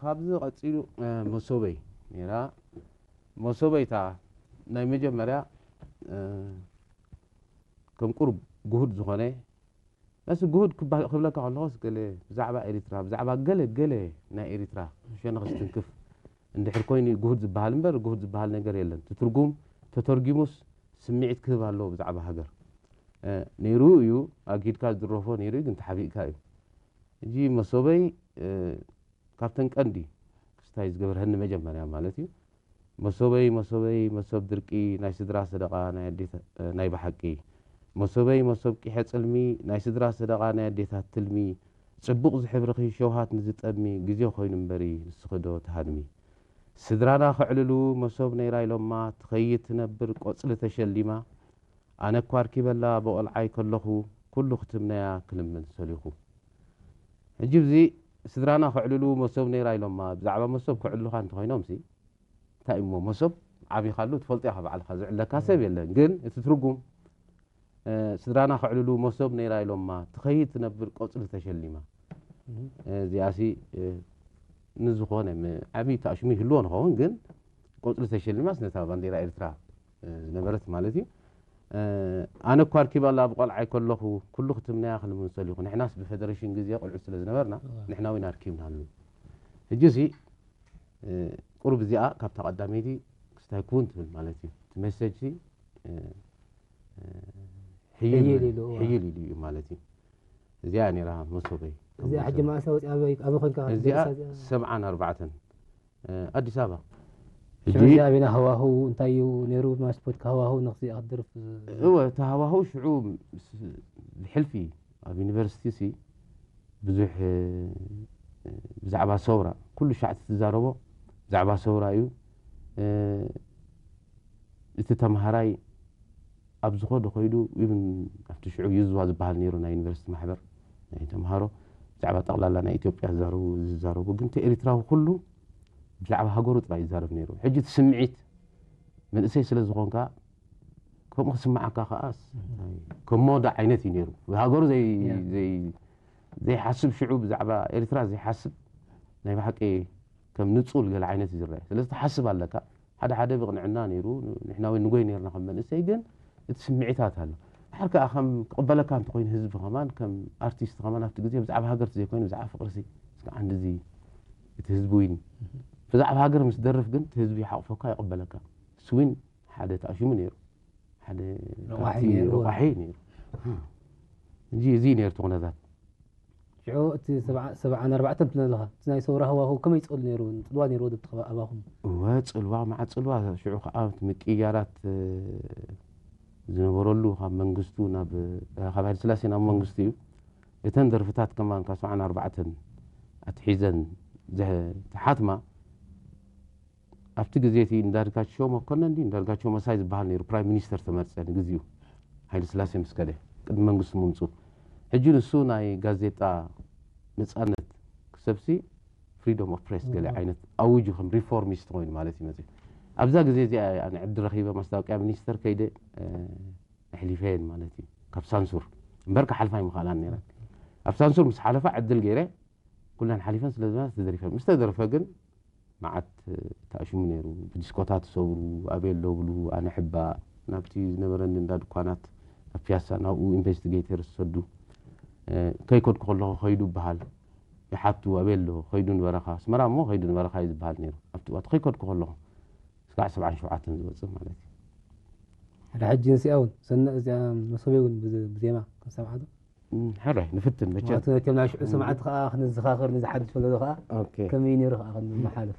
ካብዚ ቀጺሉ፣ እ፣ መሶበይ ነይራ። መሶበይ እታ ናይ መጀመርያ፣ እ፣ ከም ቁሩብ ግሁድ ዝኾነ፣ መስ ግሁድ ክባ-፣ ክብለካ ከለኹስ ገለ ብዛዕባ ኤሪትራ፣ ብዛዕባ ገለ፣ ገለ ናይ ኤሪትራ ሸነኽ ዝትንክፍ እንድሕር ኮይኑ ግሁድ ዝበሃል እምበር፣ ግሁድ ዝበሃል ነገር የለን። እቲ ትርጉም ተተርጊሙስ ስምዒት ክህብ ኣለዎ ብዛዕባ ሃገር። እ፣ ነይሩ እዩ፣ ኣግሂድካ ዝድረፎ ነይሩ እዩ፣ ግን ተሓቢእካ እዩ። ሕጂ መሶበይ፣ እ፣ ካብተን ቀንዲ ክስታይ ዝገብርሀኒ መጀመርያ ማለት እዩ። መሶበይ፣ መሶበይ፣ መሶብ ድርቂ፣ ናይ ስድራ ሰደቓ፣ ናይ ኣዴታ-፣ ናይ ብሓቂ። መሶበይ፣ መሶብ ቂሐ ጽልሚ፣ ናይ ስድራ ሰደቓ፣ ናይ ኣዴታት ትልሚ። ጽቡቕ ዝሕብርኺ ሸውሃት ንዝጠሚ፣ ግዜ ኮይኑ እምበሪ፣ ንስኺ ዶ ትሃድሚ። ስድራና ከዕልሉ፣ መሶብ ነይራ ኢሎማ፣ ትኸይድ ትነብር ቆጽሊ ተሸሊማ። ኣነ እኳ ኣርኪበላ ብቆልዓይ ከለኹ፣ ኩሉ ክትምነያ ክልምን ሰሊኹ። ሕጂ ብዚ ስድራና ከዕልሉ መሶብ ነይራ ኢሎማ፣ ብዛዕባ መሶብ ከዕልሉኻ እንተኾይኖም ሲ፣ እንታይ እሞ መሶብ ዓቢኻሉ ትፈልጦ ኢኻ ባዕልኻ፣ ዝዕለካ ሰብ የለን። ግን እቲ ትርጉም፣ እ፣ ስድራና ከዕልሉ መሶብ ነይራ ኢሎማ፣ ትኸይድ ትነብር ቆጽሊ ተሸሊማ። እዚኣሲ፣ እ፣ ንዝኾነ ም-፣ ዓብዪ ተኣሽሙ ይህልዎ ንኸውን፣ ግን ቆጽሊ ተሸሊማስ ነታ ባንዴራ ኤርትራ፣ እ፣ ዝነበረት ማለት እዩ። እ፣ ኣነ እኳ ኣርኪባላ ብቆልዓይ ከለኹ፣ ኩሉ ክትምነያ ክልምን ሰሊኹ። ንሕናስ ብፌደሬሽን ግዜ ቆልዑ ስለ ዝነበርና፣ እዋ። ንሕና እውን ኣርኪብናሉ። ሕጂሲ፣ እ፣ ቁሩብ እዚኣ ካብታ ቀዳመይቲ ክስታይ ክውን ትብል ማለት እዩ። እቲ ሜሴጅ ሲ፣ እ፣ እ፣ ሕይል ሕይል ኢሉ፣ እዋ። ሕይል ኢሉ እዩ ማለት እዩ። እዚኣ ነይራ መሶበይ። እዚኣ ሕጂ መዓስ ኣውፂኣ ኣበይ፣ ኣበይ ኮንካ እዚኣ ክትደርሳ እዚኣ? ሰብዓን ኣርባዕተን፣ እ፣ ኣዲስ ኣበባ። ሽዑ ሕጂ እዚኣ ኣበይና ሃዋህው እንታይ እዩ ነይሩ? ማስፖርት ሃዋህው ንኽዚኣ ክትደርፍ እወ፣ እቲ ሃዋህው ሽዑ ምስ፣ ብሕልፊ ኣብ ዩኒቨርሲቲ ሲ ብዙሕ፣ እ፣ ብዛዕባ ሰውራ ኩሉ ሻዕ እቲ ትዛረቦ ብዛዕባ ሰውራ እዩ። እ፣ እቲ ተምሃራይ ኣብ ዝኸዶ ከይዱ፣ ኢቭን ኣብቲ ሽዑ ዩዝዋ ዝበሃል ነይሩ ናይ ዩኒቨርሲቲ ማሕበር ናይ ተምሃሮ፣ ብዛዕባ ጠቕላላ ናይ ኢትዮጵያ ዝዛረቡ፣ ዝዛረቡ፣ ግን እቲ ኤሪትራዊ ኩሉ ብዛዕባ ሃገሩ ጥራይ ይዛረብ ነይሩ። ሕጂ እቲ ስምዒት መንእሰይ ስለ ዝኾንካ፣ ከምኡ ክስምዓካ ከኣስ፣ ከም ሞዳ ዓይነት እዩ ነይሩ። ብሃገሩ ዘይ-፣ ያ። ዘይ-፣ ዘይሓስብ፣ ሽዑ ብዛዕባ ኤሪትራ ዘይሓስብ፣ ናይ ብሓቂ ከም ንጹል ገለ ዓይነት እዩ ዝረአ። ስለዚ ትሓስብ ኣለካ። ሓደ ሓደ ብቕንዕና ነይሩ፣ ንሕና እውን ንጎይ ነይርና ከም መንእሰይ፣ ግን እቲ ስምዒታት ኣሎ። ድሓር ከኣ ከም ክቕበለካ እንተኾይኑ ህዝቢ ከማን፣ ከም ኣርቲስት ከማን ኣብቲ ግዜ ብዛዕባ ሃገር ዘይኮይኑ ብዛዕባ ፍቕሪ ሲ፣ እስከ ዓንዲ እዚ እቲ ህዝቢ ዊን ብዛዕባ ሃገር ምስ ደርፍ ግን እቲ ህዝቢ ይሓቑፈካ፣ ይቕበለካ። እሱ ዊን ሓደ ተኣሽሙ ነይሩ። ሓደ ረቋሒ ካብቲ ነይሩ። ረቋሒ ነይሩ። እንጂ እዚ ነይሩ እቲ ኩነታት። ሽዑ እቲ ሰብዓ-፣ ሰብዓን ኣርባዕተን ትብል ኣለኻ። እቲ ናይ ሰውራ ሃዋህው ከመይ ይጸሉ ነይሩ? ጽልዋ ነይርዎ ዶ ኣብቲ ከባቢ ኣባኹም? እወ፣ ጽልዋ፣ መዓት ጽልዋ። ሽዑ ከዓ እቲ ምቅይያራት፣ እ፣ ዝነበረሉ ካብ መንግስቱ ናብ፣ እ፣ ካብ ሃይለ ስላሴ ናብ መንግስቱ እዩ። እተን ደርፍታት ከማን ካብ ሰብዓን ኣርባዕተን ኣትሒዘን ዘ-፣ ተሓትማ ኣብቲ ግዜ እቲ እንዳርጋቸው መኮነን ድዩ እንዳርጋቸው መሳይ ዝበሃል ነይሩ፣ ፕራይም ሚኒስተር ተመርጸ ንግዚኡ፣ ሃይለ ስላሴ ምስ ከደ፣ ቅድሚ መንግስቱ ምምጽኡ። ሕጂ ንሱ ናይ ጋዜጣ ነጻነት ክሰብሲ ፍሪደም ኦፍ ፕሬስ ገለ እዋ። ዓይነት ኣውጁ፣ ከም ሪፎርሚስት ኮይኑ ማለት እዩ መጺኡ። ኣብዛ ግዜ እዚኣ ኣነ ዕድል ረኺበ፣ ማስታወቅያ ሚኒስተር ከይደ፣ እ፣ ኣሕሊፈየን ማለት እዩ፣ ካብ ሳንሱር። እምበር ክሓልፋ ኣይምኽኣላን ነይረን። ኣብ ሳንሱር ምስ ሓለፋ ዕድል ገይረ፣ ኩለን ሓሊፈን ስለ ዝበላ ተደሪፈን። ምስ ተደርፈ ግን መዓት ተኣሽሙ ነይሩ። ብዲስኮታት ዝሰብሩ፣ ኣበይ ኣሎ ብሉ፣ ኣነ ሕባ፣ ናብቲ ዝነበረኒ እንዳ ድኳናት ኣብ ፒያሳ፣ ናብኡ ኢንቨስቲጌተር ዝሰዱ። እ፣ ከይከድኩ ከለኹ ከይዱ ይበሃል። ይሓቱ፣ ኣበይ ኣሎ? ከይዱ ንበረኻ። ኣስመራ እሞ ከይዱ ንበረኻ እዩ ዝበሃል ነይሩ። ኣብቲ እዋን ከይከድኩ ከለኹ፣ እስካዕ ሰብዓን ሸውዓተን ዝወጽእ ማለት እዩ። ሕደ ሕጂ ንስኣ እውን፣ ሰነ-፣ እዚኣ መሶበይ እውን ብዘ-፣ ብዜማ ክንሰምዓ ዶ? እም፣ ሕራይ፣ ንፍትን መቸም። ምኽንያቱ ነቶም ናይ ሽዑ እም። ሰማዕቲ ከኣ ክንዘኻኸር፣ ነዚ ሓድሽ ወለዶ ከኣ ኦኬ። ከመይ ነይሩ ከኣ ክንመሓልፍ።